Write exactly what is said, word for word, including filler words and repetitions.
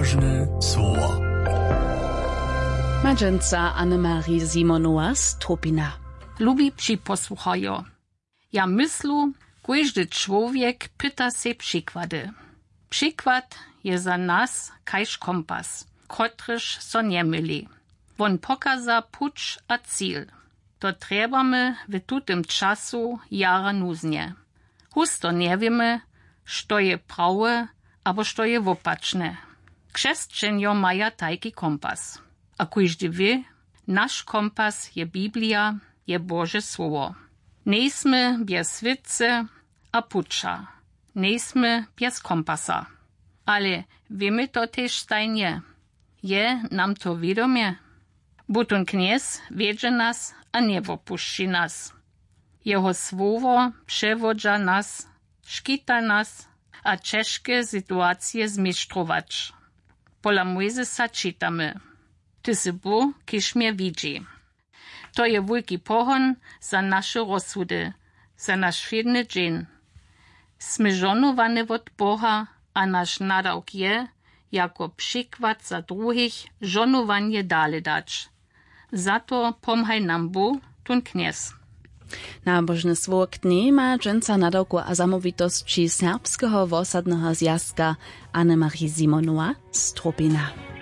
Nabožne słowa. Madźenca Annemarie Simonowa z Tropina. Lubi připosłuchajo. Ja myslu, kóždy čłowjek pyta sej přikłady. Přikład je za nas kaž kompas, kotryž so njemyli. Wón pokaza puć a cil. To trjebamy w tutym času jara nuznje. Husto njewěmy, što je prawe abo što je wopačne. Křesćenjo maja tajki kompas. A kóždy wě, naš kompas je Biblija, je Bože słowo. Njejsmy bjez swětcy a puća. Njejsmy bjez kompasa. Ale wěmy to tež stajnje? Je nam to wědomje? Butón knjez wjedźe nas a njewopušći nas. Jeho słowo přewodźa nas, škita nas a ćežke situacije zmištrować. Pola Mojzesa čitamy: Ty sy Bóh, kiž mje widźi. To je wulki pohon za naše rozsudy, za naš wšědny dźeń. Smy žohnowany wot Boha a naš nadawk je, jako přikład za druhich žohnowanje dale dać. Za to pomhaj nam Bóh, tón knjez. Nabožne słowo k njej ma dźensa nadawku a zamołwitosći Serbskeho wosadneho zwjazka Annemarie Simonowa z Tropina.